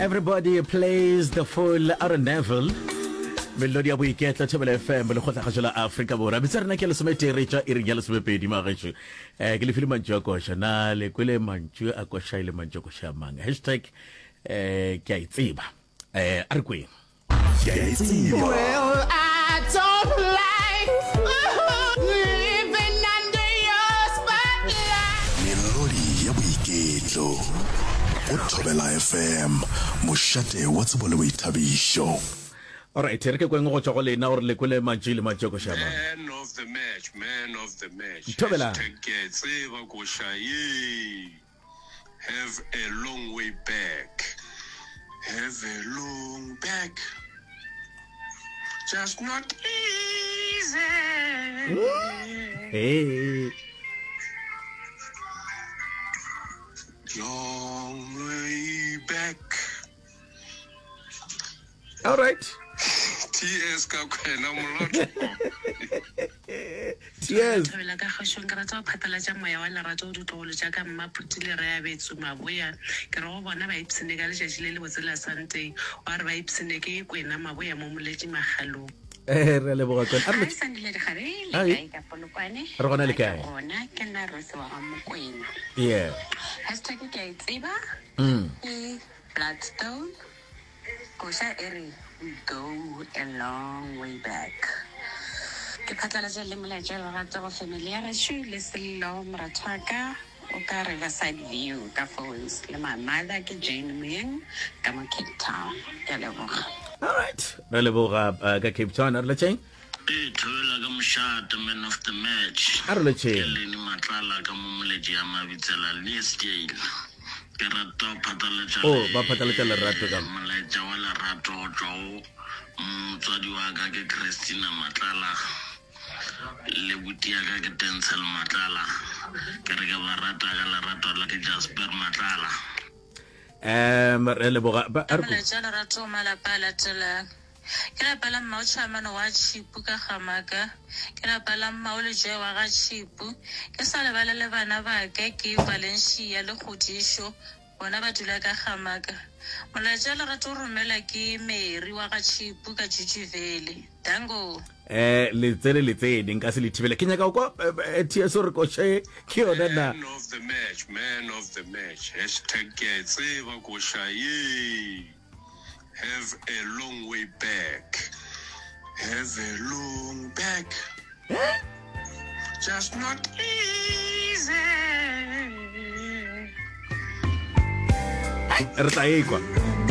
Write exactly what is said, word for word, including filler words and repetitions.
Everybody plays the fool Aaron Neville. Melodi ya boiketlo Thobela F M, lekgotlagašo la Afrika Borwa. Metsa rena ke lesometee re tšwa iring ya lesomepedi magešo. um ke le file mantšu a koša. Na le kwele mantšu a koša e le mantšu a koša a mang? Hashtag um ke a e tseba. um a re kweng. Ke a e tseba. Well, I don't like living under your spotlight. Melodi ya boiketlo go Thobela F M, mošate wa tsebo le boithabišo. Alright, re ke kweng go tšwa go lena gore le kwele mantšu le mantšu a koša a mang. Man of the match, man of the match. Thobela. Hashtag ke a e tseba koša ye. Have a long way back. Have a long back. Just not easy. Hey. Long way back. All right. T S ka kwena molotho. Tears. Thobela ka kgašong, ke rata go phatlalatša moya wa lerato go ditlogolo tša ka Mmaphuti le Reabetsu Maboya. Ke re go bona ba ipshine ka letšatši le lebotse la Sunday. Wa re ba ipshine ke Kwena Maboya mo Moletši Makgalong. Eh, re a leboga Kwena. A re Hi lotšhe. Sandile Dikgabe, le Hi. kae ka Polokwane? Re gona le Nna ke kae? gona, ke nna Rose wa ga Mokwena. Yeah. Hashtag ke a e tseba Mm. ke Bloodstone. Koša e re we go a long way back. Ke phatlalatša le molaetša wa lerato go family ya gešo le Sello moratho wa ka o ka Riverside View ka phones le my mother ke Jane Moyeng ka mo Cape Town. Ke a leboga. All right. Re leboga uh, ka Cape Town. A re lotšheng. Ee, Thobela ka mošate, man of the match. A re Ke lotšheng. Lenny Matlala ka mo Moletši ya Mabitsela, Leesdale. Ke rata go phatlalatša Oh, ba phatlalatša lerato ka mo. molaetša wa lerato go tšwa go motswadi wa ka ke Christina Matlala le buti ya ka ke Denzel Matlala. Ke re ke ba rata ka lerato la ke Jasper Matlala. Um re leboga. Ba a re ko. Molaetša wa lerato go malapa a latelang. Ke lapa la Mmao Tšhamano wa Tšhipu ka Gamaka. Ke lapa la Mmao Lejoe wa ga Tšhipu. Ke sa lebale le bana ba ka ke Valencia le Kgodišo, bona ba dula ka Gamaka. Molaetša wa lerato o romela ke Mary wa ga Tšhipu ka Jujuvele. Dango. Eh, le tsene le tsene nka se le thibele. Ke nyaka go kwa eh, eh, T S gore koša ye ke yona na. Man of the match, man of the match. Hashtag ke a e tseba koša ye. Have a long way back. Have a long back. Just not easy. Re tla ekwa.